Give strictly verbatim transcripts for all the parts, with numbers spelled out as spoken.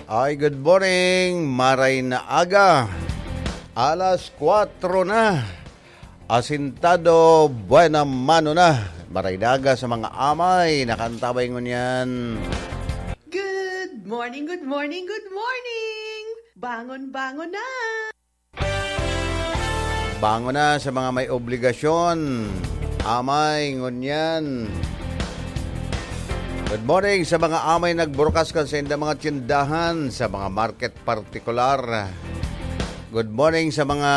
Ay, good morning. Maray na aga. Alas kwatro na. Asintado, buena mano na. Maray na aga sa mga amay. Nakantabay ngunyan. Good morning, good morning, good morning! Bangon, bangon na! Bangon na sa mga may obligasyon. Amay, ngunyan. Good morning sa mga amay nagburukas kan sa indang mga tindahan, sa mga market partikular. Good morning sa mga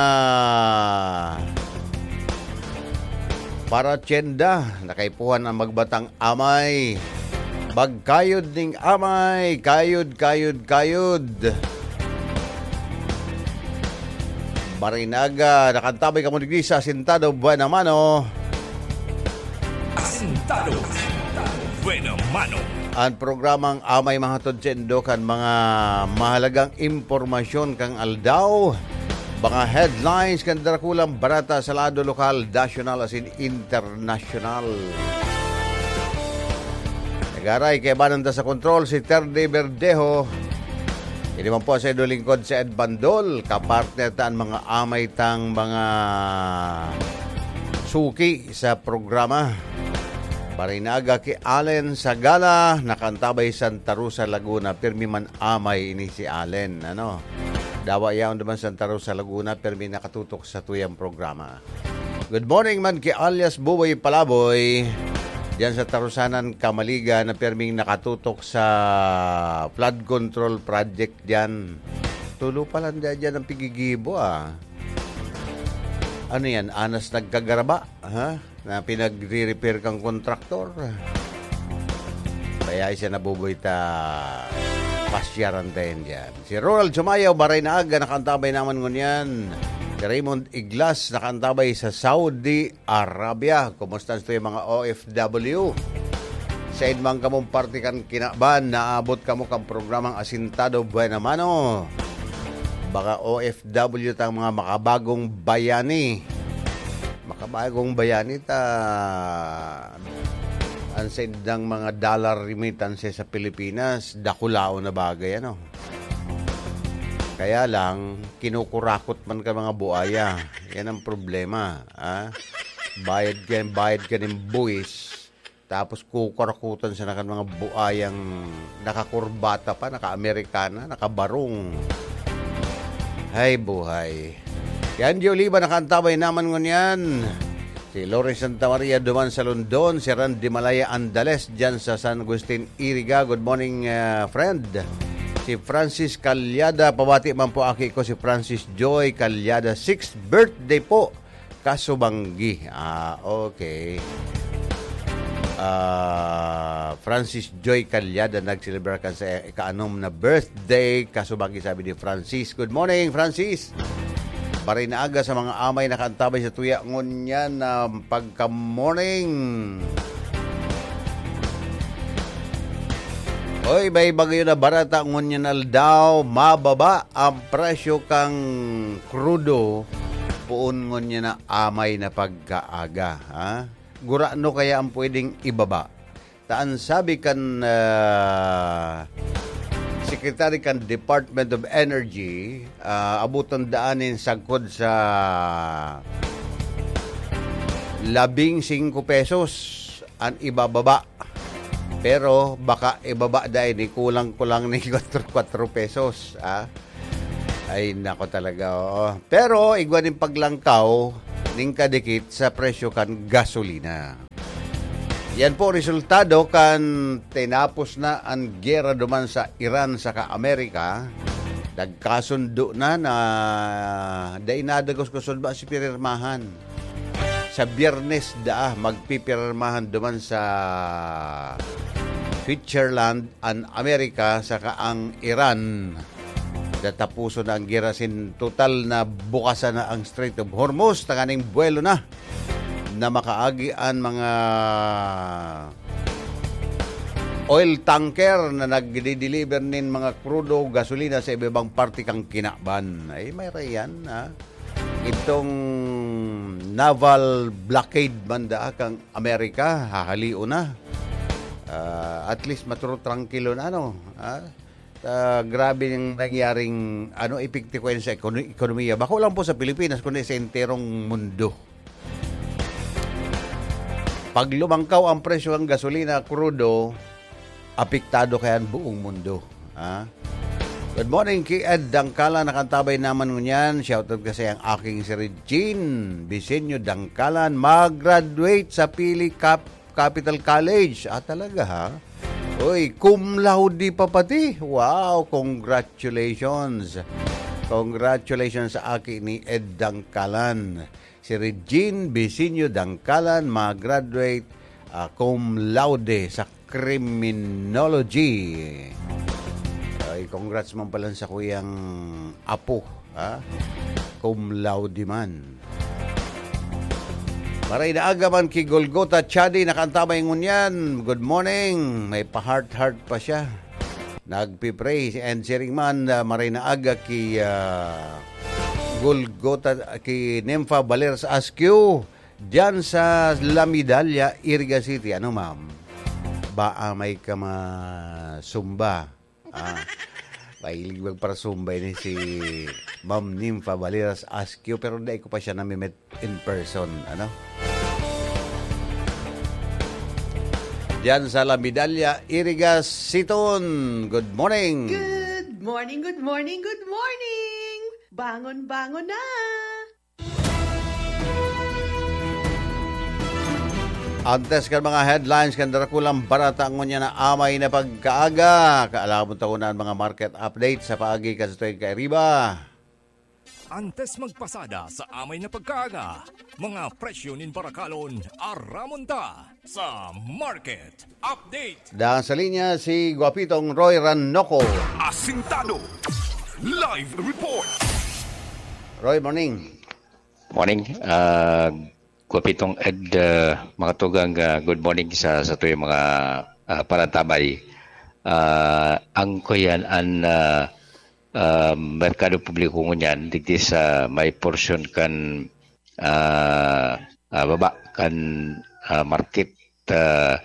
paratyenda. Nakaipuhan ang magbatang amay. Magkayod ning amay. Kayod, kayod, kayod. Marinaga, nakantabay kamo digdi sa Asintado, Buena Mano. Asintado, Buena Mano. Ang programang amay mahatod sa indo kan mga mahalagang impormasyon kan aldaw, mga headlines kan dakulang barata sa lado lokal, nasyonal asin internasyonal. Nagaray, kaibanan ta sa kontrol si Terdy Verdejo. Ini man po sa indo lingkod sa Ed Bandol, kapartner ta an mga amay tang mga suki sa programa. Marinaga ki Allen Sagala, nakantabay Santa Rosa, Laguna. Pirmi man amay ini si Allen, ano? Dawa yaon duman Santa Rosa, Laguna, pirmi nakatutok sa tuyang programa. Good morning man ki alias Buboy Palaboy. Diyan sa Tarusanan, Kamaliga, na pirming nakatutok sa flood control project diyan. Tulo pa lang diyan, diyan ang pigigibo, ah. Ano yan? Anas nagkagaraba, ha? Na pinagre-repair kang kontraktor. Kaya siya nabubuhay ta pasyaran tayo dyan. Si Ronald Sumayaw, maray na aga, nakaantabay naman ngunyan. Si Raymond Iglas, nakaantabay sa Saudi Arabia. Kumusta ang mga O F W? Sa inman kamong parte kan kinaban, naabot kamo kan programang Asintado Buena Mano. Baka O F W tang mga makabagong bayani. Makabagong bayani ta, ang sa indang mga dollar remittance sa Pilipinas, dakulaon na bagay, ano? Kaya lang, kinukurakot man ka mga buaya. Yan ang problema, ah. Bayad ka, bayad ka ng buwis, tapos kukurakutan sa nakan mga buayang nakakurbata pa, naka-Amerikana, nakabarong. Hay buhay. Yan, Joe Oliva, nakaantabay naman ngunyan. Si Lawrence Santa Maria duman sa London, si Randy Malaya Andales dyan sa San Agustin, Iriga. Good morning, ah, friend. Si Francis Calyada, pabati man po aki ko si Francis Joy Calyada, sixth birthday po. Kasubanggi. Ah, okay. Ah, Francis Joy Calyada nagselebrar kan sa ika-anom na birthday. Kasubanggi, sabi ni Francis. Good morning, Francis. Maray na aga sa mga amay nakaantabay sa tuya ngunyan na pagka-morning. Oy, may bagyo na barata ngunyan aldaw, mababa ang presyo kang krudo, poon ngunyan na amay na pagkaaga, ha? Gurano kaya ang pwedeng ibaba? Ta an sabi kan, ah, secretary kan Department of Energy, ah, abutan daan nin sagkod sa labing singko pesos an ibababa. Pero baka ibaba dai ni kulang-kulang ni kwatro, kwatro pesos, ah. Ay, nako talaga, oo. Pero igwa nin paglangkaw nin kadikit sa presyo kan gasolina. Yan po resultado kan tinapos na an giyera duman sa Iran saka Amerika. Nagkasundo na na dai nadagos kusod ba si pirmahan. Sa Biyernes daa, magpipirmahan duman sa Switzerland an Amerika saka ang Iran. Tatapuson na ang gera sin total na bukasan na ang Strait of Hormuz, tanganing buwelo na na makaagi an mga oil tanker na nagdi-deliver nin mga krudo, gasolina sa iba-ibang parte kan kinaban. Ay, may rayan, ha? Itong naval blockade man daa kang Amerika, hahalion na. Ah, at least maturo trangkilo na, ano, ha? ah, grabe yung nangyaring, ano, epekto sa ekono-, ekonomiya. Bako lang po sa Pilipinas, kundi sa enterong mundo. Pag lumangkaw ang presyo ng gasolina, krudo, apektado kaya ang buong mundo. Ha? Good morning, ki Ed Dangkala, nakantabay naman ngunyan. Shoutout kasi ang aking si Regine Bisenyo Dangkalan, mag-graduate sa Pili Cap-, Capital College. Ah, talaga, ha? Uy, cum laude pa pati. Wow, congratulations. Congratulations sa aki ni Ed Dangkalan. Si Regine Bisinyo Dangkalan, mag-graduate, ah, cum laude sa criminology. Ay, congrats man pala sa kuyang apo, ha? Cum laude man. Maray na aga man ki Golgota Chadi, nakantabay ngunyan. Good morning. May pa-heart-heart pa siya. Nagpipray and sharing man, ah, maray na aga ki, ah, Golgota, ki Nympha Valeras Askew, diyan sa La Medalla, Iriga City. Ano, ma'am? Baa may ka masumba? Ah, mahilig magparasumba ini si Ma'am Nympha Valeras Askew, pero dai ko pa siya nami-meet in person, ano? Diyan sa La Medalla, Iriga, Siton. Good morning. Good morning, good morning, good morning! Bangon, bangon na! Antes kan mga headlines kan Drakulang Barata, ngunyan na amay na pagkaaga. Kaalamon ta ko na ang mga market update sa paagi kan sa tuwing kairiba. Antes magpasada sa amay na pagkaaga, mga presyo nin barakalon, aramon ta sa market update. Daan sa linya si Guapitong Roy Ranoco. Asintado. Live report. Roy, morning. Morning. Ah, Guapitong Ed, ah, mga tugang, ah, good morning sa, sa tuyong mga, ah, panatabay. Ah, ang kuyan, an, ah, ah, merkado publiko ngunyan, digdi sa may porsyon kan, ah, ah, baba kan, ah, market, ah,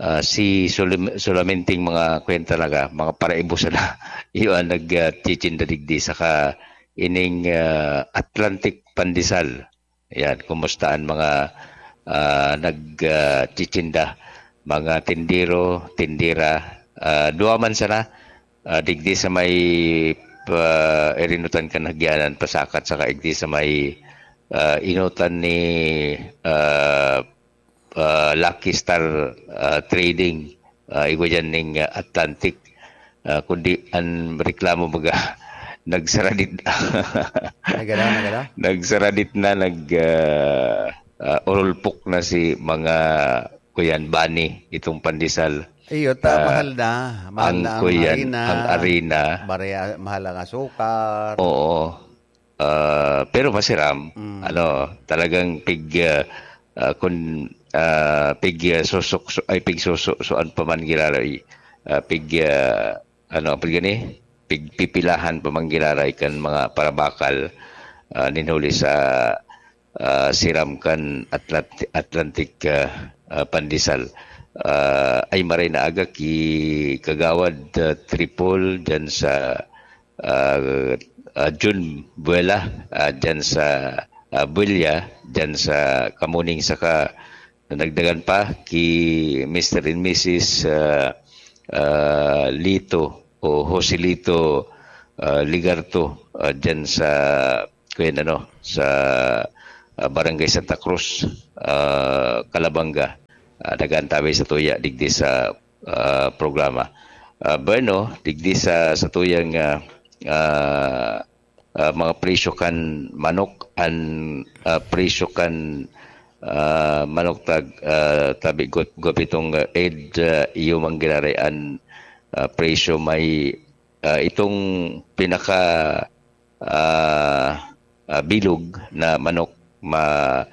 ah, si sulim-, sulaminting mga kuyan talaga, mga paraibo sana. Iyo ang nag, ah, chichinda digdi, saka ining, ah, Atlantic Pandesal. Ayan, kumusta ang mga, ah, nag, ah, chichinda, mga tindero, tindera, ah, duwa man sana, ah, digdi sa may pa, irinutan kan hagyanan, pasakat, saka igdi sa may, ah, inutan ni, ah, ah, Lucky Star, ah, Trading, ah, igwa dyan ning, ah, Atlantic. Ah, kundi ang reklamo baga, nagsaradit. Nagala, nagala? Nagsaradit na, nag, ah, ah, urulpok na si mga kuyan, bani, itong pandesal. Iyo, ta, Ah, mahal na. Mahal ang na ang kuyan, harina. Ang harina. Barya, mahal ang asukar. Oo. Ah, pero masiram, Mm. ano, talagang pig, ah, ah, kun, ah, pig, ah, susuk-, su-, ay, pig susu-, suan pa man giraray, ah, pig, ah, ano, pag gani, pigpipilahan pa man giraray kan mga parabakal, ah, nin huli sa, ah, siram kan Atlant-, Atlantic, ah, ah, Pandesal. Ah, ay maray na aga ki Kagawad, ah, Tripol dyan sa, ah, ah, Jun Buela, ah, dyan sa, ah, Buella, dyan sa Kamuning, saka nadagdagan pa ki Mister and Missus, ah, ah, Lito o Joselito, ah, Ligarto, ah, dyan sa, kuyan, ano, sa, ah, Barangay Santa Cruz, ah, Calabanga. Ah, nag-aantabay sa tuya digdi sa, ah, programa. Ah, bueno, digdi sa, sa tuyang, ah, ah, ah, mga presyo kan manok, an, ah, presyo kan, ah, manok tag, ah, tabi got-, gupitong, ah, Ed, ah, iyo man giraray an, ah, presyo may, ah, itong pinaka, ah, ah, bilog na manok ma-,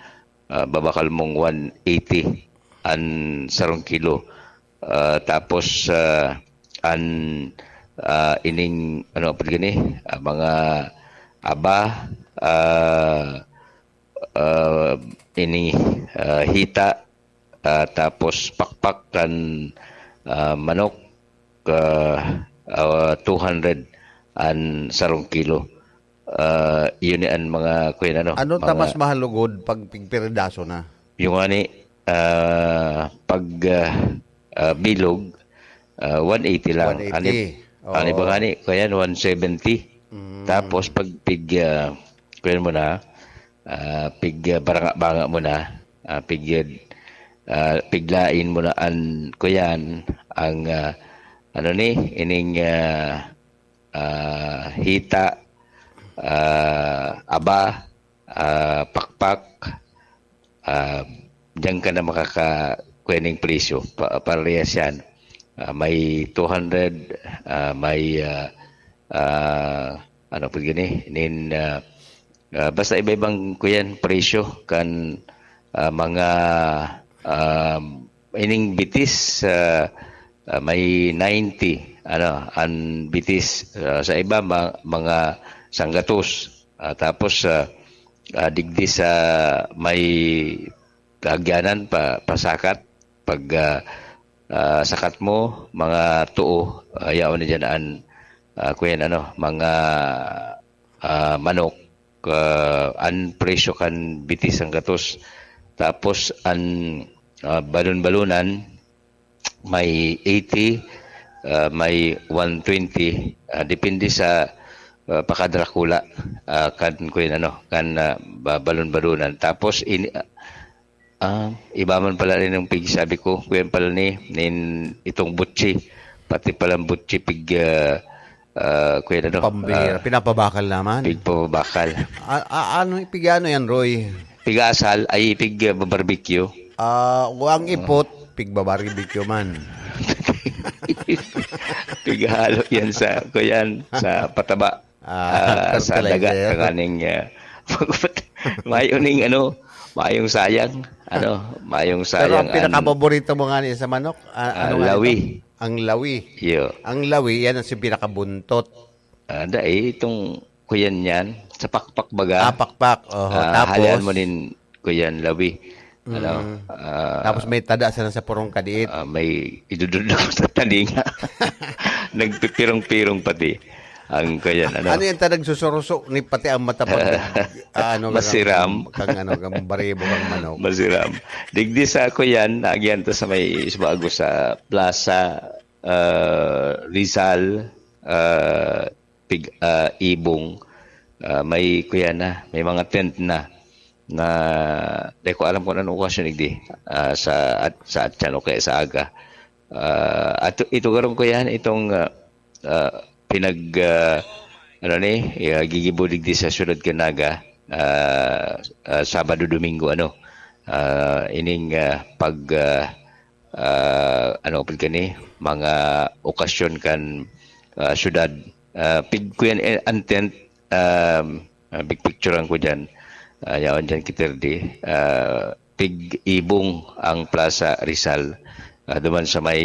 ah, babakal mong one eighty an sarong kilo. Ah, tapos, ah, an, ah, ining, ano, apod gani? Ah, mga aba, ah, ah, ini, ah, hita, ah, tapos pakpak kan, ah, manok, ah, ah, two hundred an sarong kilo. Ah, yun ni an mga, kuyan, ano, Ano ta mga mas mahal lugod pag pigpiridaso na? Yung ani, ah, pag, ah, ah, bilog, ah, one eighty lang. Ani, One eighty. Ani ba Oo. Ngani, kuyan, one seventy. Mm. Tapos pag pig, ah, kuyan mo na, ah, pig, ah, baranga-banga mo na, ah, pig, ah, piglain mo na an, kuyan, ang, ah, ano ni, ining, ah, ah, hita, ah, aba, ah, pakpak, ah, diyan ka na makaka-, kuya ning presyo. Pa-, parehas yan. Ah, may two hundred, ah, may, ah, ah, ano po gini? Nin, ah, ah, basta iba-ibang, kuyan, presyo kan, ah, mga, ah, ining bitis, ah, ah, may ninety, ano, an bitis, ah, sa iba, ma-, mga sanggatos. Ah, tapos, ah, ah, digdi sa may kaagyanan pa, pasakat, pag, ah, ah, sakat mo, mga tuo, ah, yaon na dyan an, ah, kuyan, ano, mga, ah, manok, ah, an presyo kan bitis sanggatos. Tapos, an, ah, balon-balonan, may eighty, ah, may one twenty, ah, depende sa, ah, pakadrakula, ah, kan, kuyan, ano, kan, ah, ba-, balon-balonan. Tapos, in-, ah, ah, iba man pala rin yung pigsabi ko, kuyan pala ni, nin, itong butsi, pati palang butsi pig, ah, ah, kuyan, ano, Pambira, ah, pinapabakal naman. Pigpabakal. A-, a-, ano, pig-ano yan, Roy? Pigasal, ay, pig, ah, barbecue. Ah, o ang ipot, pigbabarbecue man. Pighalo yan sa, kuyan, sa pataba. Ah, Ah, sa daga, fertilizer. Tanganing, ah, mayo ning ano, mayong sayang, ano, mayong Pero sayang ang an pinakapaborito mo nga ni sa manok, ah, Ah, ano nga lawi. Ito? Ang lawi. Iyo. Ang lawi, yan ang si pinakabuntot. Ah, dai, itong kuyan yan, sa pakpak baga. Ah, pakpak. Oho, Ah, tapos? Halian mo nin kuyan lawi. Ano, Mm. ah, Tapos may tada sana sa purong kadiit. Ah, may idududok sa talinga. Nagpipirong-pirong pati ang kuyan, ano. Ano yan, ta nagsusuruso ni pati ang mata pag, ah, ano, Masiram. Kang, kang, ano, kang baribo, kang manok. Masiram. Digdi sa kuyan, nagyan ta sa may Subago sa plaza, ah, Rizal, ah, pig-, ah, ibong, ah, may kuyan na, may mga tent na, na di ko alam kung anong okasyon, igdi, ah, sa, at, sa atyan o kaya sa aga. Ah, at ito garong kuyan, itong, ah, ah, pinag, ah, ano ni, ah, gigibo digdi sa siyudad kan Naga, ah, ah, Sabado, Domingo, ano, ah, ining, ah, pag, ah, ah, ano, pag gani, mga okasyon kan, ah, syudad. Ah, pig-, kuyan, eh, an tent, um, ah, big picture lang ko dyan. Ah, yaon dyan, Kitirdi. Ah, pig-ibong ang Plaza Rizal. Ah, duman sa may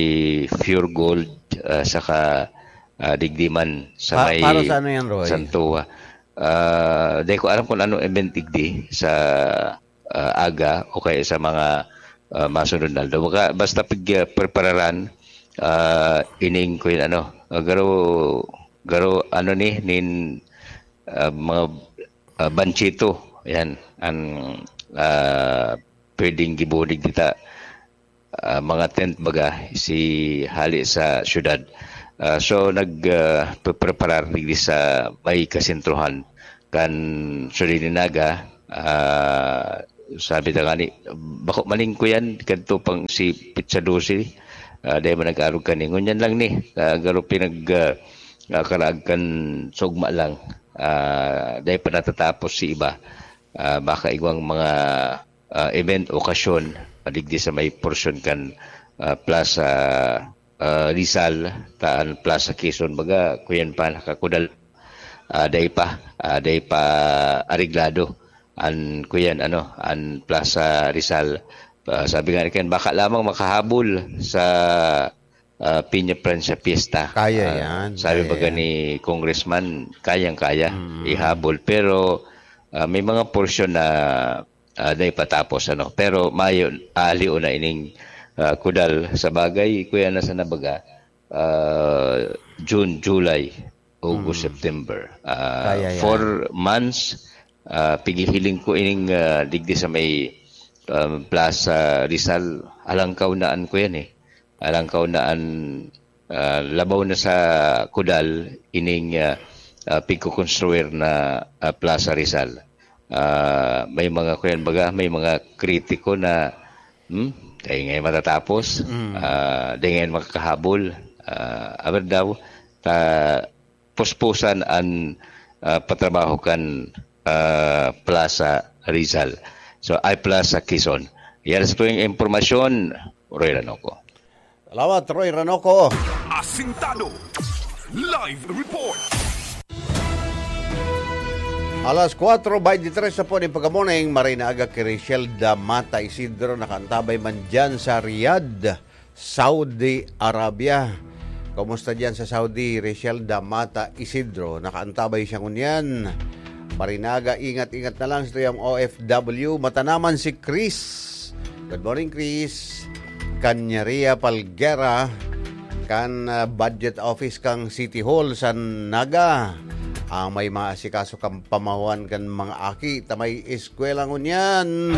Pure Gold, ah, saka, ah, digdi man sa Pa-, may para sa ano yan, Roy? Santua. Ah, di ko alam kung anong event digdi sa, ah, aga o kaya sa mga, ah, masunod na aldaw. Baka, basta pag, ah, prepararan, ah, ining ko yun, ano, ah, garo, garo, ano ni, nin, ah, mga, ah, banchito, yan, ang, ah, pwedeng gibulig dita, ah, mga tent baga, si hali sa syudad. Ah, so, nag, ah, preparar digdi sa may kasentruhan kan Solini Naga, ah, sabi ta ngani, bako maning ko yan, kadto pang si Pizza Dose, ah, dahil man nag-arog kani. Ngunyan lang ni, ah, garo pinag, ah, ah, karaag kan sugma lang. Ah, dahil pa natatapos si iba. Ah, baka igwang mga, ah, event, okasyon, padigdi sa may porsyon kan, ah, Plaza, ah, Rizal, taan Plaza Quezon, baga, kuyan pa, nakakudal, ah, dai pa, ah, dai pa areglado an, kuyan, ano, an Plaza Rizal. Ah, sabi nga ni Ken, baka lamang makahabol sa, ah, Peña Francia Fiesta. Kaya Ah, yan, sabi kaya baga yan. ni Congressman, kayang-kaya Mm. ihabol. Pero, ah, may mga porsyon na, ah, na ipatapos, ano. Pero mayo, aliw na ining, ah, kudal. Sa bagay, kuya, na sa nabaga, ah, June, July, August, Mm. September. Ah, Kaya yan. Four months, ah, pighihiling ko ining, ah, digdi sa may, um, Plaza Rizal. Alangkaw na an ko yan eh. Alangkaw na an, ah, labaw na sa kudal ining, ah, ah, pigkukonstruir na, ah, Plaza Rizal. Ah, may mga kuyan baga, may mga kritiko na, hmm, dai ngayon matatapos, Mm. ah, dai ngayon makakahabol. Ah, aber daw, ta, puspusan an, ah, patrabaho kan, ah, Plaza Rizal. So, ay Plaza Quezon. Yan sa tuyang impormasyon, Roy Ranoco. Salamat, Roy Ranoco. Asintado. Live report. Alas kwatro beintitres na po nin pagka-morning, maray na aga ki Rachel Damata Isidro, nakaantabay man dyan sa Riyadh, Saudi Arabia. Kumusta dyan sa Saudi, Rachel Damata Isidro? Nakaantabay siya ngunyan. Maray na aga, ingat-ingat na lang sa tuyang O F W. Mata naman si Chris. Good morning, Chris. Kanyaria Palguera, kan, ah, budget office kan City Hall sa Naga. Ang may maasikaso kan pamahuan kan mga aki ta may eskwela ngunyan.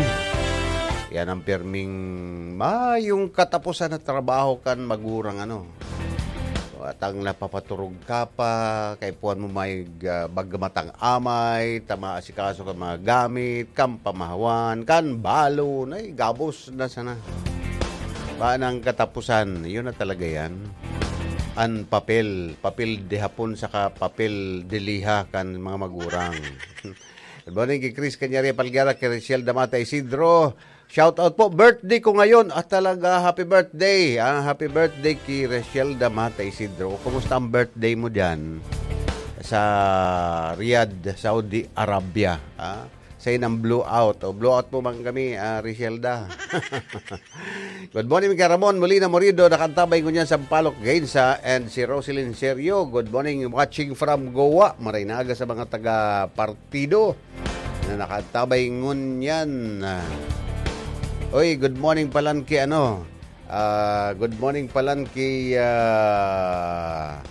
Yan ang pirming mayong katapusan na trabaho kan magurang, ano. Atang napapaturog ka pa, kaipuhan mo may, ah, bagamatang amay, ta maasikaso kan mga gamit, kan pamahawan, kan balon, ay, gabos na sana. Ba nang katapusan, yun na talaga yan. An papel, papel de hapon saka papel de liha kan mga magurang. Good morning kay Chris Canyaria Palguera, kay Rachel Damata Isidro. Shout out po, birthday ko ngayon. Ah, talaga, happy birthday. Ah, happy birthday kay Rachel Damata Isidro. Kumusta ang birthday mo dyan? Sa Riyadh, Saudi Arabia. Ah, sa inang blowout. O, blowout mo man kami, ah, Richelda. Good morning, kay Ramon Molina Morido, nakaantabay ngunyan sa Palok Gainsa, and si Roselyn Serio. Good morning, watching from Goa. Maray na aga sa mga taga-partido na nakaantabay ngunyan. Oy, good morning palan ki ano. Ah, good morning palan ki, ah,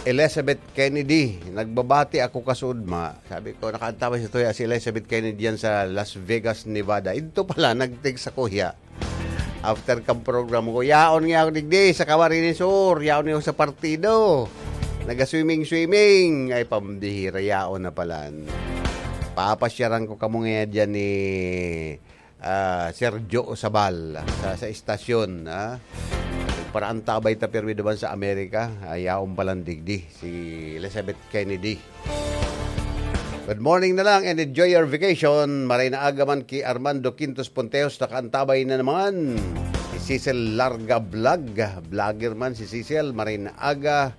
Elizabeth Kennedy. Nagbabati ako kasudma. Sabi ko, nakaantabay sa tuya si Elizabeth Kennedy yan sa Las Vegas, Nevada. Ito pala, nag-text ako hiya. After kang program ko, yaon nga ako digdi sa Camarines Sur, yaon nga ako sa partido. Naga-swimming-swimming. Ay, pambihira, yaon na palan. Papasyaran ko kamo ngayon dyan ni, ah, Sergio Osabal sa, sa istasyon, ah. Para antabay ta pirmi duman sa Amerika, ay, yaon palan digdi si Elizabeth Kennedy. Good morning na lang and enjoy your vacation. Maray na aga man ki Armando Quintos Ponteos, nakaantabay na naman. Si Cecil Larga Vlog, vlogger man si Cecil, maray na aga.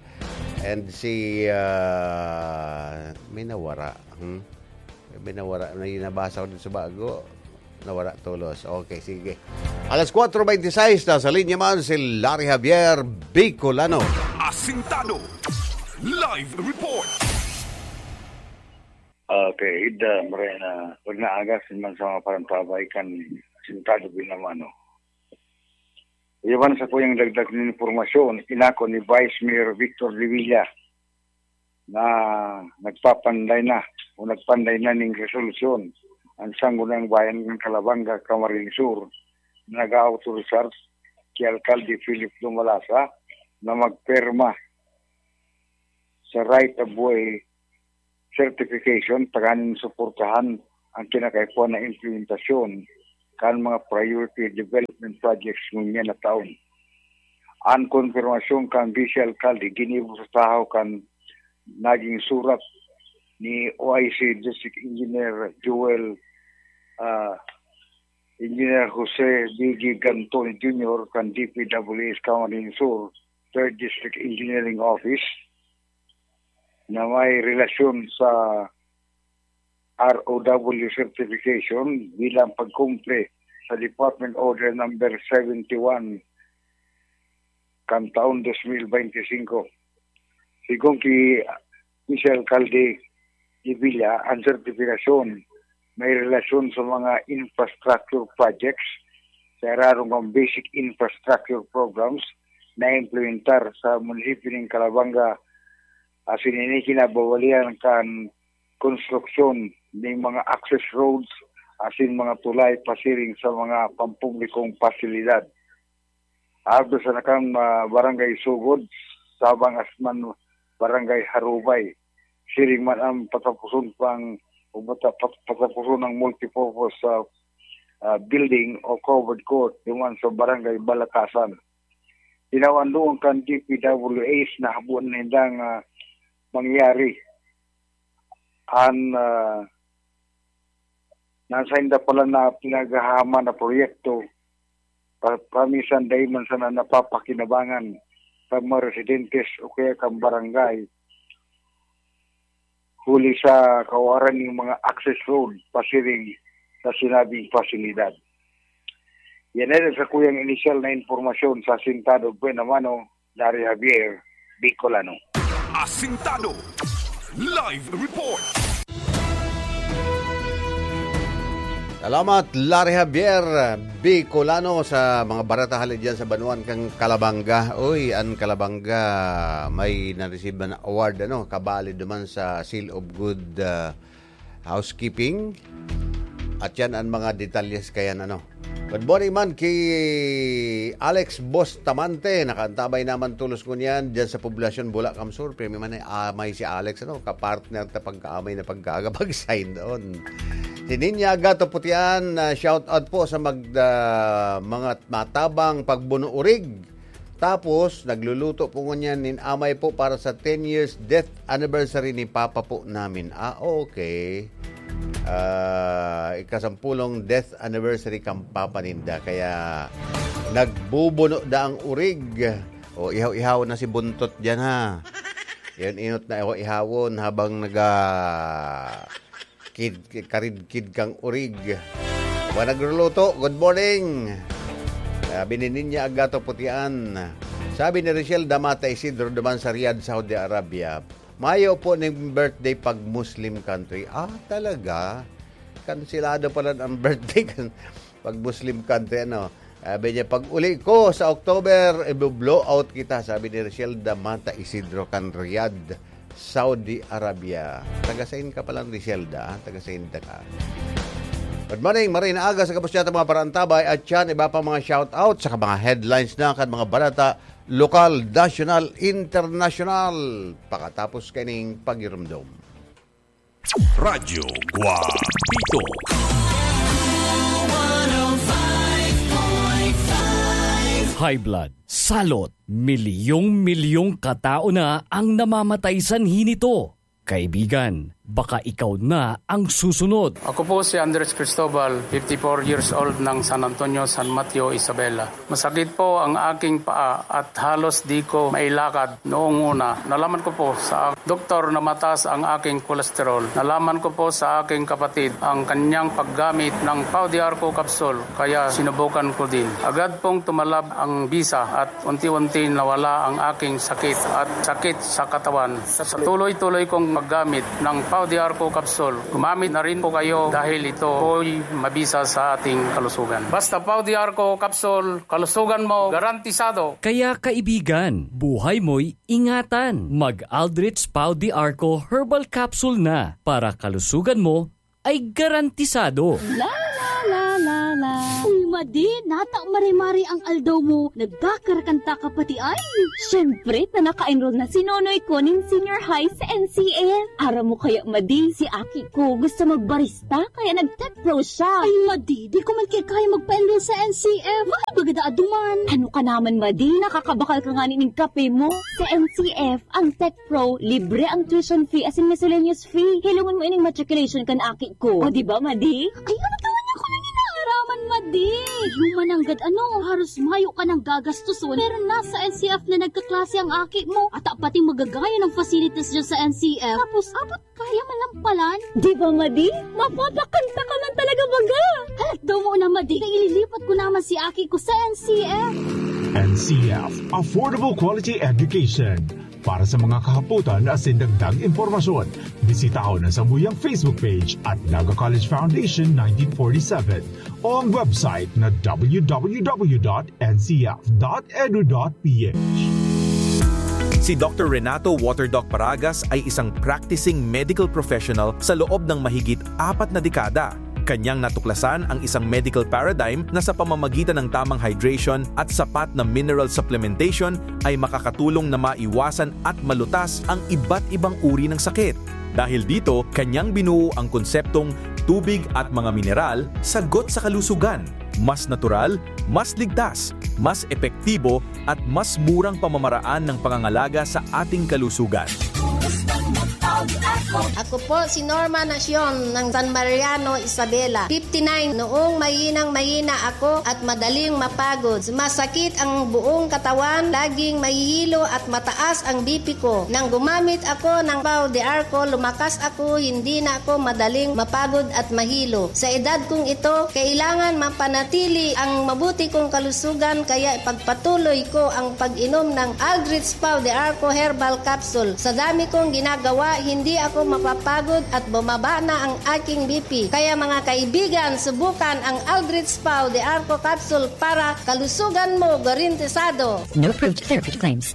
And si, ah, may nawara. Hmm? May nawara, may nabasa ko dun sa bago. Nawara tolos. Okay, sige. Alas kwatro beintiseis na sa linya man si Larry Javier Bicolano. Asintado. Live report. Okay, ida, Morena, pag naagas man sa mga parantabay kan Asintado Binamano. Iwan sa kuyang dagdag na impormasyon, inako ni Vice Mayor Victor Revilla na nagpapanday na o nagpanday na ning resolusyon ang Sangguniang Bayan ng Calabanga, Camarines Sur, na nag-aautorisar ki Alkalde Philip Dumalasa na magperma sa right of way certification tanganing suportahan ang kinakaipuhan na implementasyon kan mga priority development projects ngunyan na taon. Ang konfirmasyon kan Vice Alkalde ginibo sa tahaw kan naging surat ni O I C District Engineer Joel, ah, Engineer Jose B G Gantoni Junior kan D P W S Camarines Sur, Third District Engineering Office, na may relasyon sa R O W certification bilang pagkumpli sa Department Order Number seventy-one kan taon dos mil beintisinko. Sigon ki Vice Alkalde Revilla, ang sertifikasyon may relasyon sa mga infrastructure projects sa irarom kan basic infrastructure programs na implementar sa munisipyo nin Calabanga, Asin ini kinabawalian kan konstruksyon ning mga access roads asin mga tulay pasiring sa mga pampublikong pasilidad. Ardo sa nakang, ah, barangay Sugod, Sabang Asman, barangay Harubay. Siring man ang patapuson pang, o pata-, pat-, patapuson ng multipurpose, ah, ah, building o covered court duman sa barangay Balatasan. Tinawan doon kan D P W H na habuan nindang, ah, mangyari. An, ah, nasa inda pala na pinaghahaman na proyekto, pa-, paminsan dai man sana napapakinabangan sa mga residentes o kaya kan barangay, huli sa kawaran ning mga access road pasiring sa sinabing pasilidad. Yan ay sa kuyang inisyal na impormasyon sa Asintado Buena Mano, Larry Javier, Bicolano. Asintado Live Report. Salamat, Larry Javier, Bicolano, sa mga barata hali dyan sa banwaan kang Calabanga. Uy, an Calabanga may na-receive na award, ano, kabali duman sa Seal of Good, ah, Housekeeping. At yan ang mga detalyes kayan, ano. Good morning man ki Alex Bustamante. Nakaantabay naman tulos ngunyan dyan sa Poblacion Bulacan Sur. Pirmi man ay amay si Alex, ano, kapartner ta pagkaamay na pagkaaga pag-sign on. Si Ninya Gato Putian, ah, shout out po sa mag-, ah, mga matabang pagbuno-urig. Tapos, nagluluto po ngunyan nin amay po para sa ten years death anniversary ni Papa po namin. Ah, okay. Ah, ikasampulong death anniversary kan Papa ninda. Kaya, nagbubuno da ang urig. O, ihaw-ihaw na si Buntot dyan, ha. Yan, inot na ihaw-ihawon habang naga-, kid, karidkid kang urig. Wa nagluluto, good morning. Sabi ni Ninya Agato Putian. Sabi ni Richelle Damata Isidro duman sa Riyadh, Saudi Arabia, mayo po ning birthday pag Muslim country. Ah, talaga? Kansilado pala ang birthday kan pag Muslim country, ano? Sabi niya, "Pag uli ko sa October, ibo-blow out kita," sabi ni Richelle Damata Isidro kan Riyadh, Saudi Arabia. Taga-sain ka palang Richelle da? Taga-sain da ka? Good morning, Marina Aga sa Kapusyata, mga parantabay at yan, iba pang mga shout out sa mga headlines na kan mga balata, lokal, nasyonal, internasyonal. Pakatapos kaining pagirumdom. Radyo Guapito. High blood, salot, milyong-milyong katao na ang namamatay sanhi nito. Kaibigan, baka ikaw na ang susunod. Ako po si Andres Cristobal, fifty-four years old ng San Antonio, San Mateo, Isabela. Masakit po ang aking paa at halos di ko mailakad noong una. Nalaman ko po sa doktor na mataas ang aking kolesterol. Nalaman ko po sa aking kapatid ang kanyang paggamit ng Pau de Arco capsule, kaya sinubukan ko din. Agad pong tumalab ang bisa at unti-unti nawala ang aking sakit at sakit sa katawan. Sa tuloy-tuloy kong paggamit ng Pau de Arco capsule, gumamit na rin po kayo dahil ito po'y mabisa sa ating kalusugan. Basta Pau de Arco capsule, kalusugan mo garantisado. Kaya kaibigan, buhay mo'y ingatan. Mag Aldrich Pau de Arco Herbal Capsule na para kalusugan mo ay garantisado. La la la la la. Uy, Madi, nata mare-mare ang aldaw mo. Nagkakarakanta ka pati ay. Siyempre, ta naka-enroll na si Nonoy ko nin senior high sa N C F. Aram mo kaya, Madi, si aki ko gusto magbarista, kaya nag-tech pro siya. Ay, Madi, di ko man kaya magpa-enroll sa N C F. Mahal baga da aduman. Ano ka naman, Madi? Nakakabakal ka nga ning kape mo. Sa N C F, ang tech pro, libre ang tuition fee asin miscellaneous fee. Hilongon mo ining matriculation kan aki ko. O, di ba, Madi? Ay, ano ka man ako nang inaaraman, Madi? Human nanggad ano, haros mayo ka nang gagastoson. Pero nasa N C F na nagkaklase ang aki mo. At pati magagaya ng facilities dyan sa N C F. Tapos, abot kaya malampalan. Di ba, Madi? Mapapakanta ka man talaga baga. Halat daw mo na, Madi. Na ililipat ko naman si aki ko sa N C F. N C F, Affordable Quality Education. Para sa mga kahapotan asin dagdag impormasyon, bisitahon ang samuyang Facebook page at Naga College Foundation nineteen forty-seven o ang website na w w w dot n c f dot edu dot p h. Si Doctor Renato Waterdoc Paragas ay isang practicing medical professional sa loob ng mahigit apat na dekada. Kanyang natuklasan ang isang medical paradigm na sa pamamagitan ng tamang hydration at sapat na mineral supplementation ay makakatulong na maiwasan at malutas ang iba't ibang uri ng sakit. Dahil dito, kanyang binuo ang konseptong tubig at mga mineral, sagot sa kalusugan. Mas natural, mas ligtas, mas epektibo, at mas murang pamamaraan ng pangangalaga sa ating kalusugan. Ako po si Norma Nacion ng San Mariano, Isabela. Fifty-nine, noong mahinang mahina ako at madaling mapagod. Sumasakit ang buong katawan, laging mahihilo at mataas ang B P ko. Nang gumamit ako ng Pau de Arco, lumakas ako, hindi na ako madaling mapagod at mahilo. Sa edad kong ito, kailangan mapanatili ang mabuti kong kalusugan, kaya ipagpatuloy ko ang pag-inom ng Aldrich Pau de Arco Herbal Capsule. Sa dami kong ginagawa, hindi ako mapapagod at bumaba na ang aking B P. Kaya mga kaibigan, subukan ang Aldrich Pau de Arco Capsule para kalusugan mo garantisado. No proved therapy claims.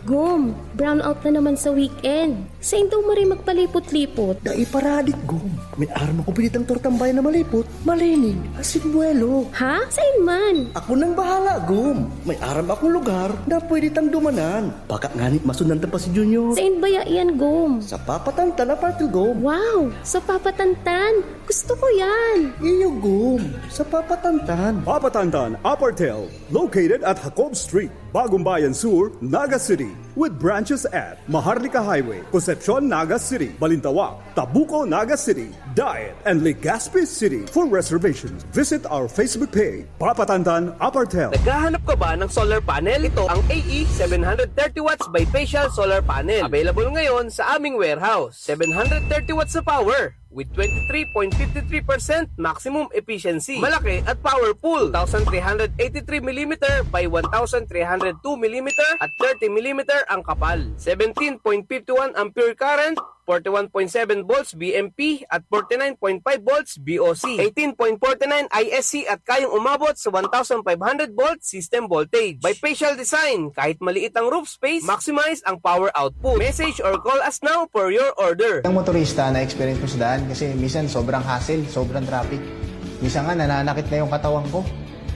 Gum, brownout na naman sa weekend. Sain daw maray magpalipot-lipot? Dai paradik, Gum. May aram akong pinitang tortang bayan na malipot, malinig, asin buwelo. Ha? Sain man? Ako nang bahala, Gum. May aram akong lugar na pwede tang dumanan. Baka ngani masundan ta pa si Junior. Sain baya iyan, Gum? Sa Papa Tantan Apartel, Gum. Wow! Sa Papa Tantan! Gusto ko yan! Iyo, Gum. Sa Papa Tantan. Papa Tantan Apartel, located at Jacob Street, Bagong Bayan Sur, Naga City, with branches at Maharlika Highway, Concepcion, Naga City, Balintawak, Tabuco, Naga City, Daet, and Legazpi City. For reservations, visit our Facebook page, Papa Tantan Apartel. Naghahanap ka ba ng solar panel? Ito ang A E seven hundred thirty watts bifacial solar panel. Available ngayon sa aming warehouse. Seven hundred thirty watts na power with twenty-three point fifty-three percent maximum efficiency. Malaki at powerful. Two thousand three hundred eighty-three millimeter by one thousand three hundred two millimeter at thirty millimeter ang kapal. Seventeen point fifty-one ampere current, forty-one point seven volts B M P at forty-nine point five volts B O C. Eighteen point forty-nine I S C at kayang umabot sa one thousand five hundred volt system voltage. Bifacial design, kahit maliit ang roof space, maximize ang power output. Message or call us now for your order. Ang motorista, na-experience ko sa daan kasi minsan sobrang hassle, sobrang traffic. Minsan nga, nananakit na yung katawan ko.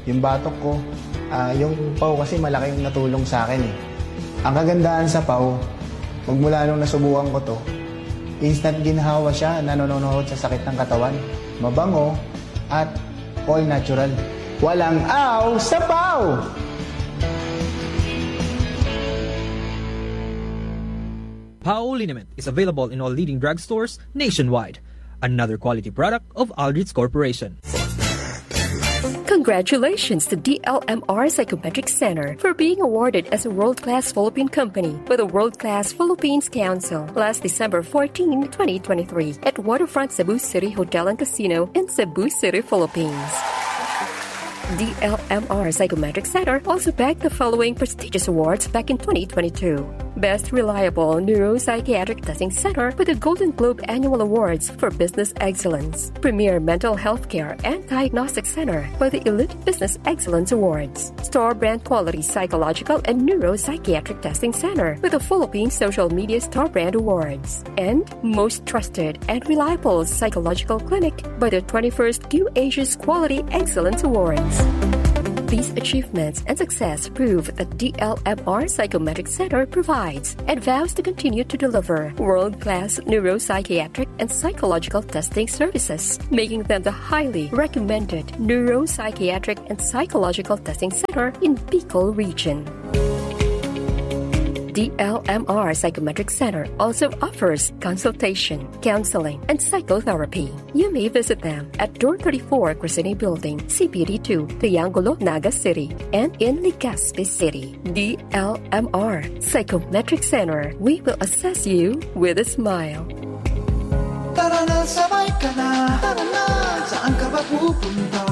Yung batok ko, ah, yung Pau kasi malaki yung natulong sa akin eh. Ang kagandahan sa Pau, magmula nung nasubukan ko to, instant ginhawa siya, nanononohod sa sakit ng katawan. Mabango at all natural. Walang aw sa Pau! Pau liniment is available in all leading drugstores nationwide. Another quality product of Aldrich Corporation. Congratulations to D L M R Psychometric Center for being awarded as a world-class Philippine company by the World Class Philippines Council last December fourteen, twenty twenty-three, at Waterfront Cebu City Hotel and Casino in Cebu City, Philippines. D L M R Psychometric Center also bagged the following prestigious awards back in twenty twenty-two. Best Reliable Neuropsychiatric Testing Center with the Golden Globe Annual Awards for Business Excellence. Premier Mental Health Care and Diagnostic Center with the Elite Business Excellence Awards. Star Brand Quality Psychological and Neuropsychiatric Testing Center with the Philippine Social Media Star Brand Awards. And most trusted and reliable psychological clinic by the twenty-first Q Asia's Quality Excellence Awards. These achievements and success prove that D L M R Psychometric Center provides and vows to continue to deliver world-class neuropsychiatric and psychological testing services, making them the highly recommended neuropsychiatric and psychological testing center in Bicol region. D L M R Psychometric Center also offers consultation, counseling, and psychotherapy. You may visit them at Door thirty-four, Crescene Building, C P D two, Triangulo, Naga City, and in Legazpi City. D L M R Psychometric Center. We will assess you with a smile. Tara na, sabay ka na. Tara na, saan ka ba pupunta?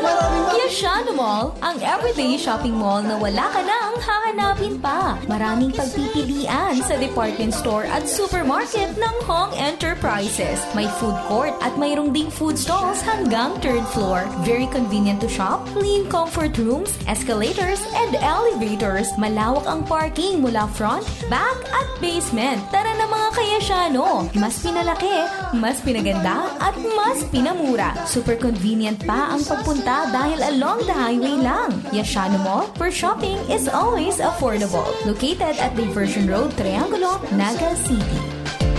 Maraming Shano Mall, ang everyday shopping mall na wala ka nang hahanapin pa. Maraming pagpipilian sa department store at supermarket ng Hong Enterprises. May food court at mayroong ding food stalls hanggang third floor. Very convenient to shop, clean comfort rooms, escalators, and elevators. Malawak ang parking mula front, back, at basement. Tara na, mga kayasyano! Mas pinalaki, mas pinaganda, at mas pinamura. Super convenient pa ang pagpunta dahil along the highway lang. Yashano Mall, where shopping is always affordable. Located at Diversion Road, Triangulo, Naga City.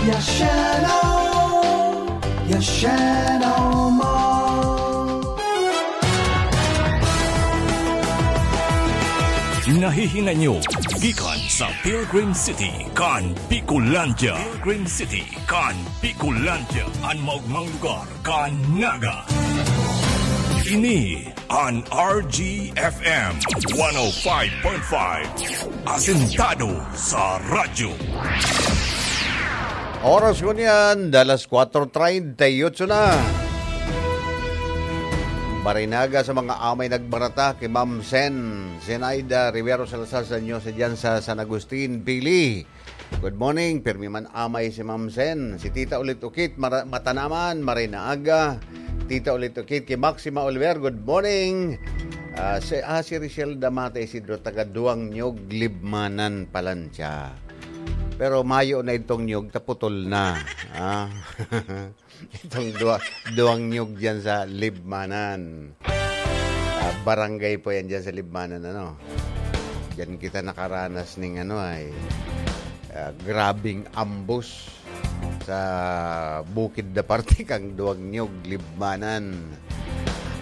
Yashano! Yashano Mall! Nahihinay nyo gikan sa Pilgrim City kan Bicolandia. Pilgrim City kan Bicolandia, an maogmang lugar kan Naga. Ini an R G F M one oh five point five, asentado sa radyo. Oras ko niyan, dalas kwatro treinta y ocho na. Barinaga sa mga amay nagbarata kay Ma'am Sen, Zenaida Rivero Salazar sa inyo sa dyan sa San Agustin, Pili. Good morning, pirmi man amay si Ma'am Sen. Si Tita Ulit Ukit, mara- matanaman, maray na aga. Tita Ulit Ukit, kay Maxima Oliver, good morning. Ah, si, ah, si Richelle Damate Isidro, taga Duang Nyog, Libmanan, Palancia. Pero mayo na itong nyog, taputol na. Ah. Itong dua, duwang nyug diyan sa Libmanan. Ah, barangay po yan diyan sa Libmanan, ano. Diyan kita nakaranas ning ano ay, ah, grabing ambos sa bukid na parte kang Duwang Nyug, Libmanan.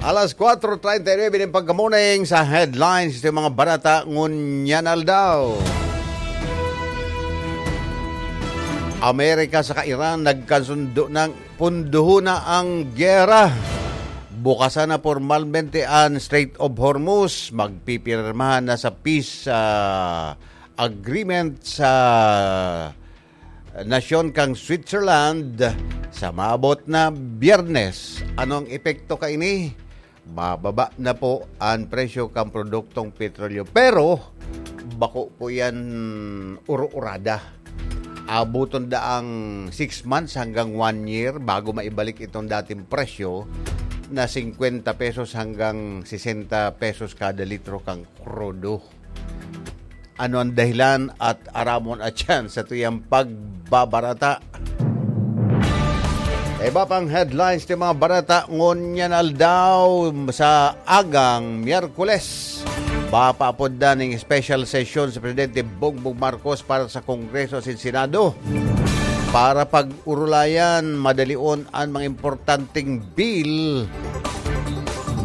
Alas kwatro treinta y nuebe din pagkamuning sa headlines sa mga barata ngunyan aldaw. Amerika saka Iran nagkasundo ng punduhon na ang giyera. Bukasan na pormalmente an Strait of Hormuz. Magpipirmahan na sa peace, ah, agreement sa nasyon kang Switzerland sa maabot na Biyernes. Ano ang epekto kaini? Mababa na po an presyo kan produktong petrolyo. Pero, bako po yan uro-urada. Abuton daang six months hanggang one year bago maibalik itong dating presyo na singkwenta pesos hanggang sesenta pesos kada litro kang krudo. Ano ang dahilan at aramon at yan sa tuyang pagbabarata? Iba pang headlines ng mga barata ngunyan aldaw sa agang Miyerkules. Mapaapod na ning special session sa Presidente Bongbong Marcos para sa Kongreso at Senado para pag-urulayan madalion an mga importanteng bill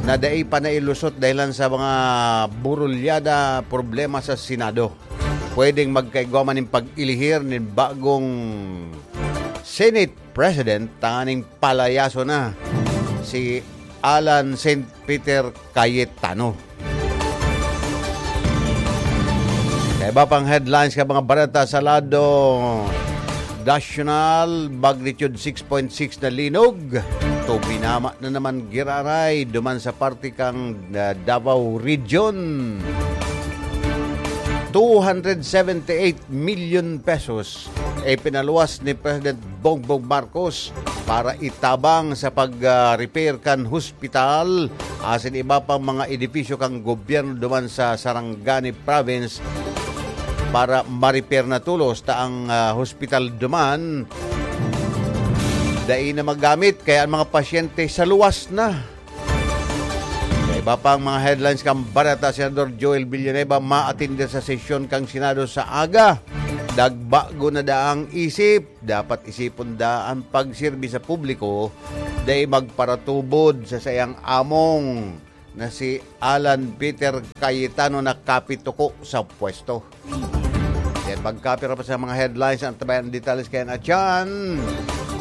na dai pa nailusot dahilan sa mga burulyada problema sa Senado. Pwedeng magkaigwa man ning pag-ilihir nin bagong Senate President tanganing palayaso na si Alan Saint Peter Cayetano. Sa iba pang headlines ka mga bareta sa lado nasyonal, magnitude six point six na linog. Tupinama na naman giraray duman sa parte kang, ah, Davao Region. Two hundred seventy-eight million pesos e pinaluwas ni President Bongbong Marcos para itabang sa pag, ah, repair kan hospital asin iba pang mga edipisyo kan gobyerno duman sa Sarangani Province para ma-repair na tolos ta ang, ah, hospital duman dai na magamit kaya ang mga pasyente sa luwas na. Sa iba pang mga headlines kan bareta, Senador Joel Villanueva maatender sa sesyon kan Senado sa aga. Nagbago na daang isip, dapat isipon da ang pagserbi sa publiko, dai magparatubod sa sayang among na si Alan Peter Cayetano na kapituko sa pwesto. Yan, magkapira pa sa mga headlines ang tabayan ng detalles kaya na dyan.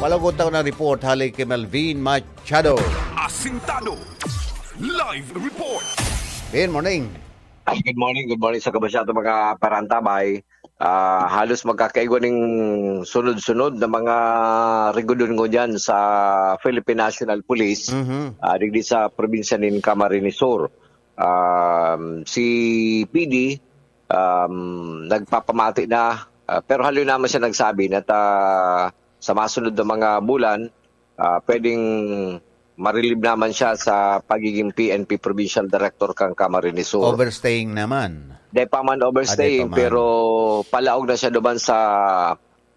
Palagot ako ng report, hali kay Melvin Machado. Asintado. Live report. Good morning. Ay, good morning, good morning sa kabasyado mga parantabay. Ah, halos magkakaigwa ning sunod-sunod na mga rigudon ko dyan sa Philippine National Police, Mhm. ah, digdi sa probinsya nin Camarines Sur. Um, si P D, um, nagpapamati na, ah, pero haloy naman siya nagsabi na ta, sa masunod na mga bulan, ah, pwedeng ma-relieve naman siya sa pagiging P N P Provincial Director kan Camarines Sur. Overstaying naman. Di pa man overstaying, Ah, di pa man. Pero palaog na siya duman sa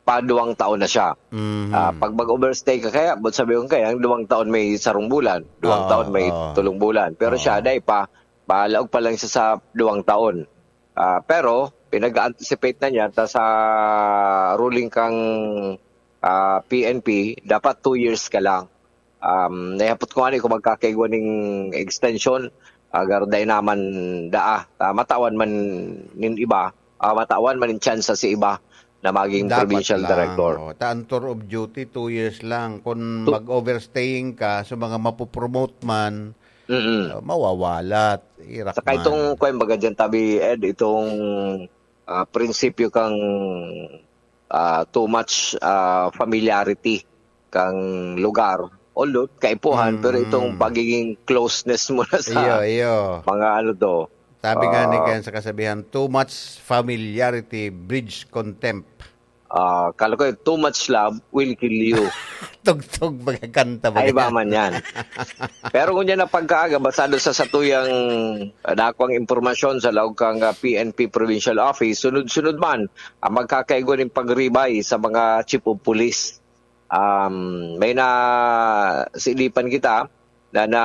paduwang taon na siya. Mhm. Ah, pag mag-overstay ka kaya, but sabi ko kaya, ang duwang taon may sarong bulan, duwang Oo, taon may oo. tulong bulan. Pero siya, Oo. dai pa, palaog pa lang siya sa duwang taon. Ah, pero, pinag-anticipate na niya ta sa ruling kang ah, P N P, dapat two years ka lang. Um, nahapot ko ani kung magkakaigwa ning extension, agar dai naman daa. Ah, matawan man nin iba, ah, matawan man nin tsansa si iba na maging Dapat provincial lang, director. Oh. Ta ang tour of duty, two years lang. Kung Tu- mag-overstaying ka, sa mga mapopromote man, Mm-mm. uh, mawawalat. Irak Saka man. Itong, kwan, baga dyan, tabi, Ed, itong ah, prinsipyo kang ah, too much ah, familiarity kang lugar. Although, kaipuhan, Mm. Pero itong pagiging closeness mo na sa Iyo, iyo. mga ano to. Sabi nga ni Ah. Ken sa kasabihan, "Too much familiarity breeds contempt." Ah, kala ko, "Too much love will kill you." Tugtog, magkakanta ba Ay, iba yan? man yan. Pero kung yan ang pagkaaga, basado sa satuyang ah, nakuang impormasyon sa laog kang ah, P N P Provincial Office, sunod-sunod man ang magkakaigwa ning pagribay sa mga chief of police. Um, may na silipan kita na, na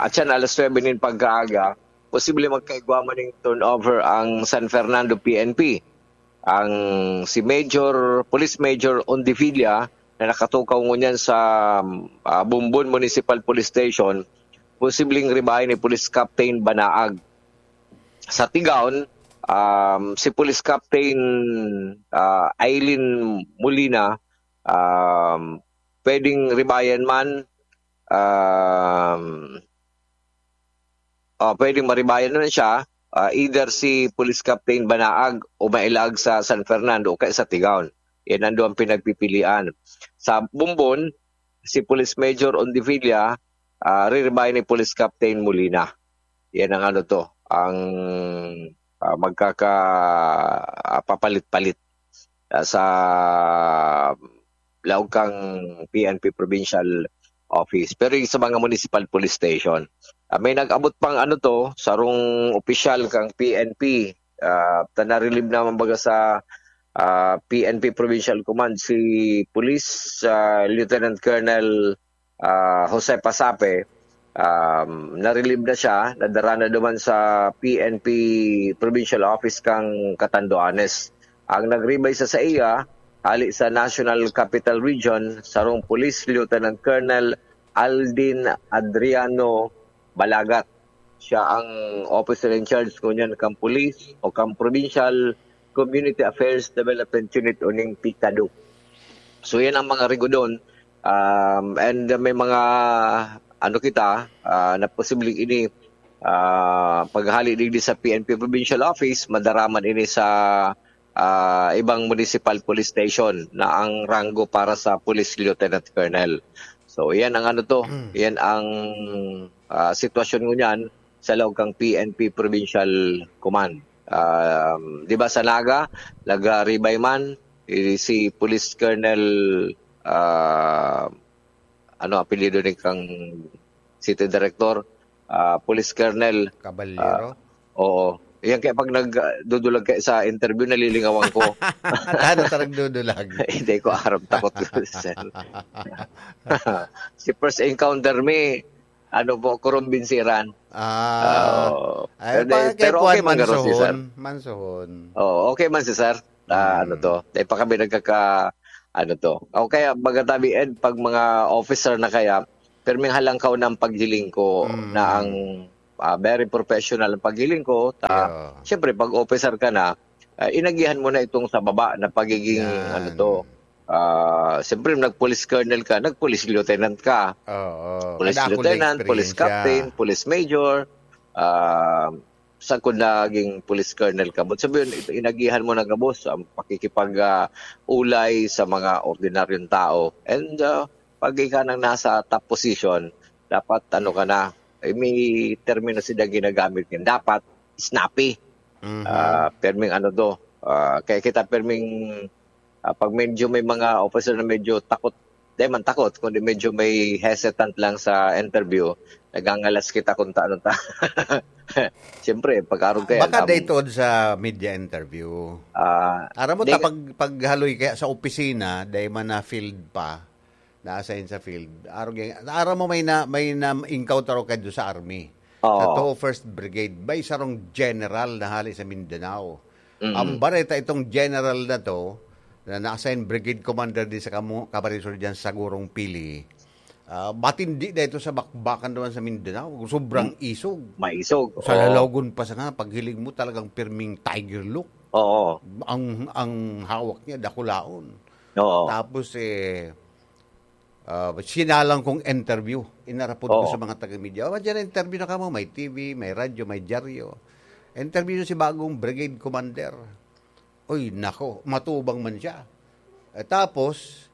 at yan alas nuebe nin pagkaaga, posible magkaigwa man ning turnover ang San Fernando P N P. Ang si Major, Police Major Ondivilla na nakatukaw ngunyan sa ah, Bumbon Municipal Police Station, posibleng ribayan ni Police Captain Banaag. Sa Tigaon, um, si Police Captain ah, Aileen Molina, um, pwedeng ribayan man, um, oh, pwedeng maribayan na siya, ah, either si Police Captain Banaag o mailag sa San Fernando o kaya sa Tigaon. Yan ang duwang pinagpipilian. Sa Bumbon, si Police Major Ondivilla, ah, riribayan ni Police Captain Molina. Yan ang ano to, ang ah, magkaka ah, papalit-palit ah, sa laog kang P N P Provincial Office. Pero yung sa mga municipal police station, ah, may nag-abot pang ano to, sarong opisyal kang P N P, ah, ta na-relieve naman baga sa ah, P N P Provincial Command, si Police ah, Lieutenant Colonel ah, Jose Pasape, um, na-relieve na siya, nadara na duman sa P N P Provincial Office kang Catanduanes. Ang nagribay sa saiya, hali sa National Capital Region, sarong Police Lieutenant Colonel Aldin Adriano Balagat. Siya ang officer in charge ngunyan kang police o kang Provincial Community Affairs Development Unit o ning PCADU. So, yan ang mga rigudon. Um, and may mga, ano kita, ah, na posibleng ini, ah, paghali digdi sa P N P Provincial Office, madaraman ini sa ah, ibang municipal police station na ang ranggo para sa Police Lieutenant Colonel. So, yan ang ano to, yan ang ah, sitwasyon ngunyan sa laog kang P N P Provincial Command. Um, di ba sa Naga, nagribay man eh, si Police Colonel ah, ano apelyido ni kang City Director, ah, Police Colonel Caballero? Oo. Yan kaya pag nagdudulag kayo sa interview, nalilingawan ko. Tano sa nagdudulag? Hindi ko aram, takot ko, sir. Si first encounter me, ano po, kurumbinsiran. Ah, Oo. ay, Pero, pa, kay pero Juan okay man garo si sir. Mansohon. Mansohon. Oo, okay man si sir. Ah, Mm. ano to? Dahil pa kami nagkaka, ano to? O kaya, baga tabi, Ed, pag mga officer na kaya, perming halangkaw ng paghiling ko Mm. na ang ah, very professional ang paghiling ko. Ta, Yeah. Siyempre, pag officer ka na, ah, inagihan mo na itong sa baba na pagiging, Yan. ano to, ah, siyempre, nag-police colonel ka, nag-police lieutenant ka. Oo. Police Kadakul na lieutenant, police eksperyensya. Captain, police major, ah, sa kung naging police colonel ka. But sabihin, ito, inagihan mo na gabos ang pakikipag, ah, ulay sa mga ordinaryong tao. And ah, pag ika nang nasa top position, dapat ano ka na, Eh, may termino sila ginagamit ngayon. Dapat snappy. Mhm. Ah, perming ano to, ah, kaya kita perming, ah, pag medyo may mga officer na medyo takot, di man takot, kundi medyo may hesitant lang sa interview, nagangalas kita kung ta-, ano ta-, siyempre, pag-arog ka yan, Baka um, dahil tuod sa media interview. Ah, Aram mo di ta, nga pag, paghaloy kaya sa opisina, dahil man na-field pa, na-assign sa field. Arog yan, aram mo may na, may na-encounter ako kayo sa army. Oo. Sa two first Brigade, may sarong general na hali sa Mindanao. Mm. Ang bareta itong general na to, na na-assign brigade commander din sa kamu-, Camarines Sur dyan sa Gurong Pili. Ah, matindi na ito sa bakbakan naman sa Mindanao. Sobrang Mm. isog. Maisog, Sa oo. Lalagon pa sa nga, paghiling mo talagang pirming tiger look. Oo. Ang, ang hawak niya, dakulaon. Oo. Tapos, eh, ah, sinalang kong interview. Inarapod ko Oo. sa mga taga-media. "Oh, dyan, interview na kamo. May T V, may radyo, may dyaryo." Interview si bagong brigade commander. Uy, nako, matubang man siya. Eh, tapos,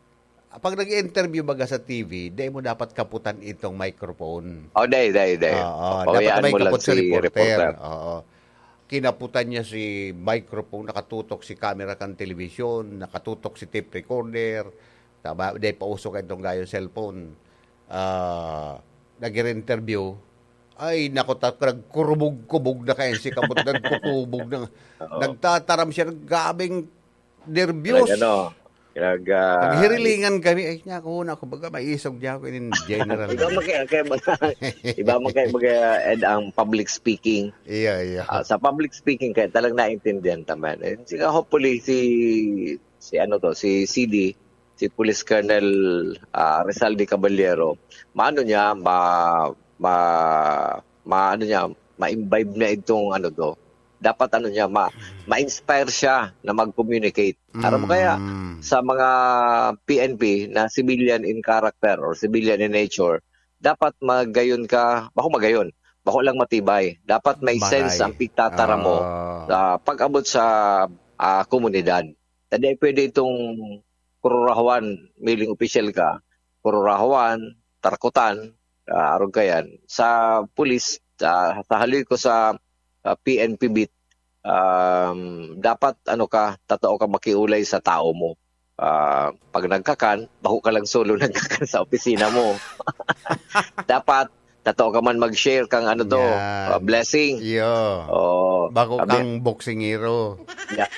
pag nag-interview baga sa T V, dai mo dapat kaputan itong microphone. Oh, dai, dai, dai. Oo, dapat Pabayaan may mo lang kapot sa si reporter. reporter. Oo. Kinaputan niya si microphone, nakatutok si camera kan telebisyon, nakatutok si tape recorder, taba, dai pauso ka itong gayo cellphone. Ah, nag-interview. Ay, naku, ta-, nagkurubog-kubog na kayo si kapot, nagkukubog na. Oo. Nagtataram siya, grabeng nervyos. Nag-ano, nag, ah, Naghirilingan kami. Ay, niya ako, na, kumbaga, maisog niya ako, in general. Iba man kaya, kaya mga, iba man kaya, mga, Ed, ang public speaking. Iya, iya. Ah, sa public speaking, kaya talagang naintindihan naman. Eh, sige, hopefully, si, si ano to, si C D, si Police Colonel, ah, Rizal de Caballero, maano niya, ma-, ma-, maano niya, ma-imbibe niya itong ano to. Dapat ano niya, ma-, ma-inspire siya na mag-communicate. Aram mo kaya, Mm. sa mga P N P na civilian in character or civilian in nature, dapat magayon ka, bako magayon, bako lang matibay. Dapat may Matay. sense ang pagtatara mo Ah. sa pag-abot sa, ah, komunidad. Hindi pwede itong kururahuan, miling opisyal ka, kururahuan, tarkutan, ah, arog ka yan. Sa pulis, sa, sa haloy ko sa, ah, P N P beat, um, dapat, ano ka, tatao ka makiulay sa tao mo. Ah, pag nagkakan, bako ka lang solo nagkakan sa opisina mo. Dapat, tatao ka man mag-share kang ano to, Yan. ah, blessing. Iyo. Oo. Bako Sabi kang boksingero. Ya.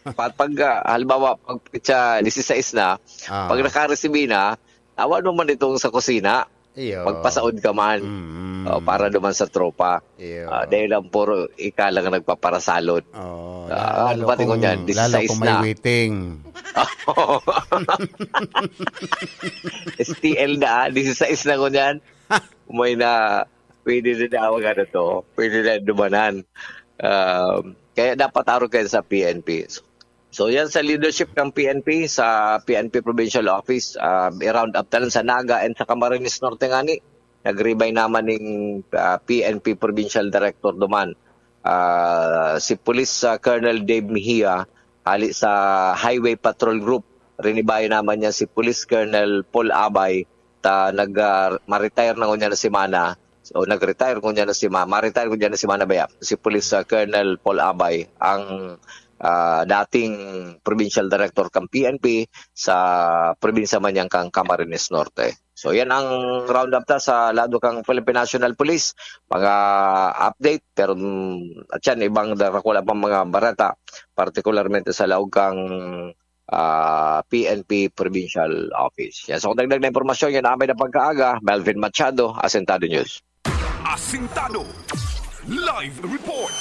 Pag, pag, ah, halimbawa, pag petsa disisais na, Ah. pag nakaresibi na, awan mo man itong sa kusina, Iyo. magpasaod ka man. Mm. Oh, para naman sa tropa. Iyo. Ah, dahil lang puro ika lang nagpaparasalot. Oh, Ah, lalo ano ba tingin kung, niyan? lalo Disisais kung may na. waiting. S T L na, ah. Disisais na ko niyan. May na, pwede na daw, ano to, pwede na dumanan. Um, kaya dapat arog kayo sa P N P. So, yan sa leadership ng P N P, sa P N P Provincial Office, ah, i-round up talan sa Naga and sa Camarines Norte ngani. Nag-resign naman ning, ah, P N P Provincial Director duman. Ah, si Police, ah, Colonel Dave Mejia, hali sa Highway Patrol Group. Rinibayan naman niya si Police Colonel Paul Abay, ta nag, ah, ma-retire na ngunyan na semana. So, nag-retire ngunyan na sema-, ma-retire ngunyan na semana ba yan? Si Police, ah, Colonel Paul Abay, ang, ah, dating provincial director kang P N P sa probinsya man yan kang Camarines Norte. So, yan ang roundup ta sa lado kang Philippine National Police. Mga update, pero, mm, at yan, ibang darakula pang mga bareta, partikularmente sa laog kang, ah, P N P Provincial Office. Yan, so, dagdag na impormasyon, yan amay na pagkaaga, Melvin Machado, Asentado News. Asintado. Live report.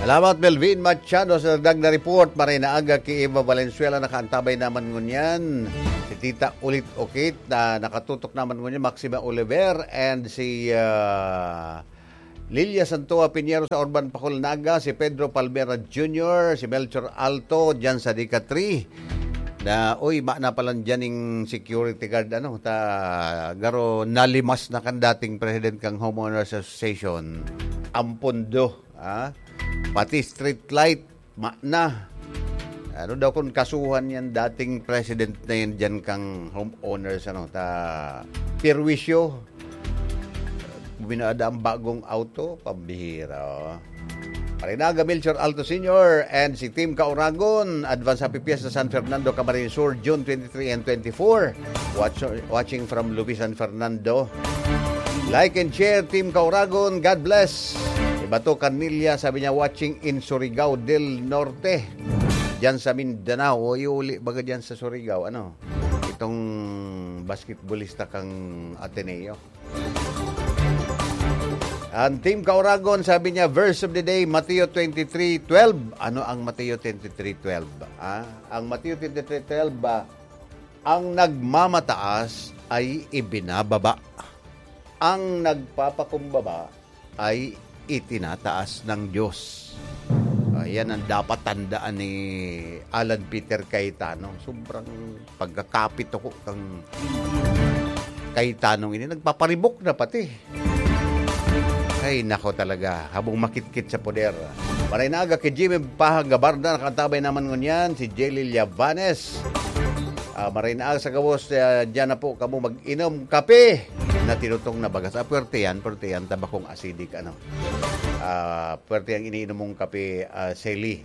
Salamat, Melvin Machado, sa dagdag na report. Maray na aga ki Eva Valenzuela, nakaantabay naman ngunyan. Si Tita Ulit Okit, na nakatutok naman ngunyan, Maxima Oliver, and si, ah, Lilia Santoa Piñero sa Urban Pacol, Naga, si Pedro Palmera Junior, si Melchor Alto, dyan sa Dika three. Na, uy, ma na pala dyan yung security guard, ano, ta, garo nalimas na kan dating president kang Homeowners Association. Ang pondo, ha? Pati street light, ma na. Ano daw kung kasuhan yan, dating president na yan dyan kang homeowners, ano, ta, perwisyo. Minada ang bagong auto, pambihira, oh. Marinaga Melchor Alto Senior and si Team Kauragon, advance happy fiesta San Fernando, Camarines Sur, June twenty-three and twenty-four. Watch, watching from Lubi, San Fernando. Like and share, Team Kauragon. God bless. Ibato Canilla, sabi niya, watching in Surigao del Norte. Diyan sa Mindanao. O, iuli baga diyan sa Surigao. Ano? Itong basketballista kang Ateneo. Ang Team Kauragon, sabi niya, verse of the day, Mateo twenty-three twelve. Ano ang Mateo twenty-three twelve? Ah, ang Mateo twenty-three twelve ba, "Ang nagmamataas ay ibinababa. Ang nagpapakumbaba ay itinataas ng Diyos." Ayan ang dapat tandaan ni Alan Peter Cayetano. Sobrang pagkakapit ako kang Cayetano ini. Nagpaparibok na pati. Ay, nako talaga. Habong makitkit sa poder. Maray na aga ki Jimmy Pahang Gabarda, nakaantabay naman ngunyan si Jelly Llavanes. Ah, maray na aga sa gabos, ah, diyan na po kamo mag-inom kape na tinutong na bagas. Ah, puwerte yan, puwerte yan, tabakong acidic, ano. Ah, puwerte ang iniinom mong kape, ah, Sally.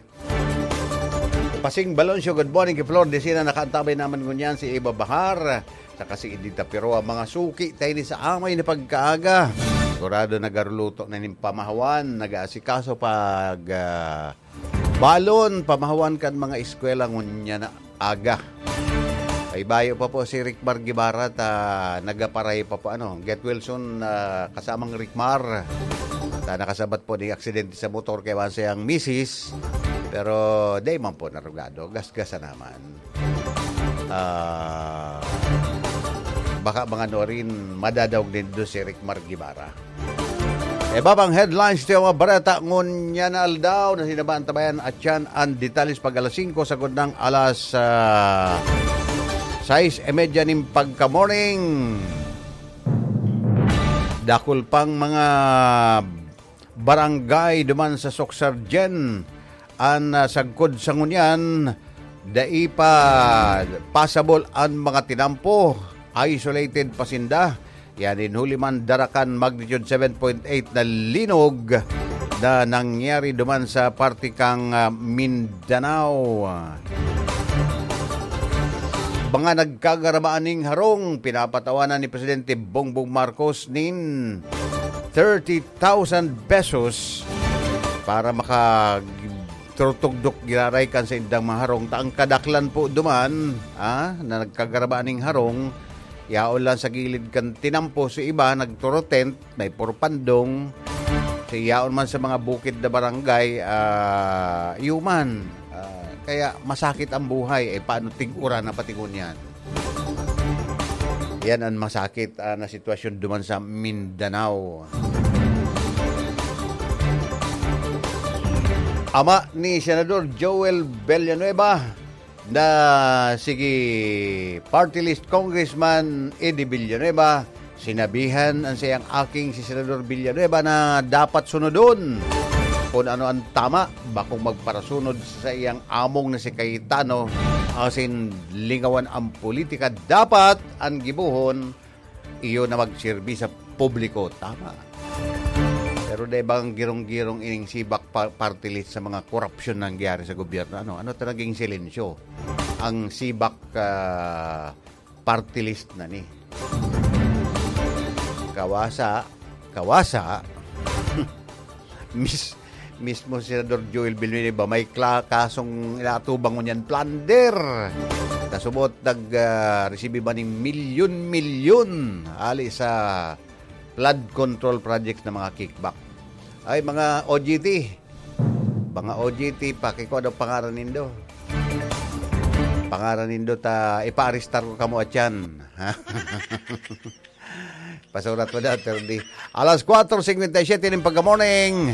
Pasing Baloncio, good morning ki Flor Decina, nakaantabay naman ngunyan si Eva Bahar, saka si Edita Piroa. Mga suki tayo ni sa amay na pagkaaga. Sigurado nagaruluto na nin pamahawan, nag-aasikaso pag, ah, balon, pamahawan kan mga eskwela ngunyan na aga. May bayo pa po si Rickmar Guevara ta nagaparay pa po, ano, Get Wilson, ah, kasamang Rickmar. Ta nakasabat po ni aksidente sa motor kay wan siyang misis. Pero di man po narugado. Gasgasa naman. Ah, baka mga norin, madadaog nindo si Rickmar Guevara. Iba pang headlines ti mga bareta ngunyan na aldaw na sinabantabayan at yan ang detalles pag alas singko sagod ng alas, ah, sais y media nin pagka-morning. Dakul pang mga barangay duman sa Soc-Sargen an, ah, sagkod sa ngunyan, dai pa pasabol an mga tinampo, isolated pa sinda. Yan, in huli man, darakan magnitude seven point eight na linog na nangyari duman sa parte kang, ah, Mindanao. Mga nagkagarabaan ning harong, pinapatawanan ni Presidente Bongbong Marcos nin thirty thousand pesos para maka turtugdok giraray kan sa indang mga harong. Ta ang kadaklan po duman, ah, na nagkagarabaan ning harong, yaon lang sa gilid kan tinampo, si iba nagturo tent, may purpandong. Si yaon man sa mga bukid na barangay, ah, yuman. Ah, kaya masakit ang buhay. Eh, paano tig-uran na pati ngunyan? Yan ang masakit, ah, na sitwasyon duman sa Mindanao. Ama ni Senador Joel Villanueva na sige party list Congressman Eddie Villanueva, sinabihan an saiyang aking si Senador Villanueva na dapat sunodon kun ano an tama, bakong magparasunod sa saiyang among na si Cayetano, asin lingawan an politika. Dapat an gibohon, iyo na magserbi sa publiko. Tama. Pero dai bang girong-girong ining sibak pa-, party list sa mga korupsyon na nangyari sa gobyerno? Ano, ano ta naging silensyo? Ang sibak, ah, party list na ni. Kawasa, kawasa. Mis-, mismo si Senador Joel Villanueva may kla-, kasong inaatubang ngunyan, plunder. Kasubot nag, ah, resibi man ning milyon-milyon hali sa flood control projects na mga kickback. Ay, mga O G T, mga O G T, pakikua daw pangaran nindo. Pangaran nindo ta, ipaarestar ko kamo atyan. Pasurat mo daw, attorney. Alas kwatro singkwenta y siyete nin pagka-morning.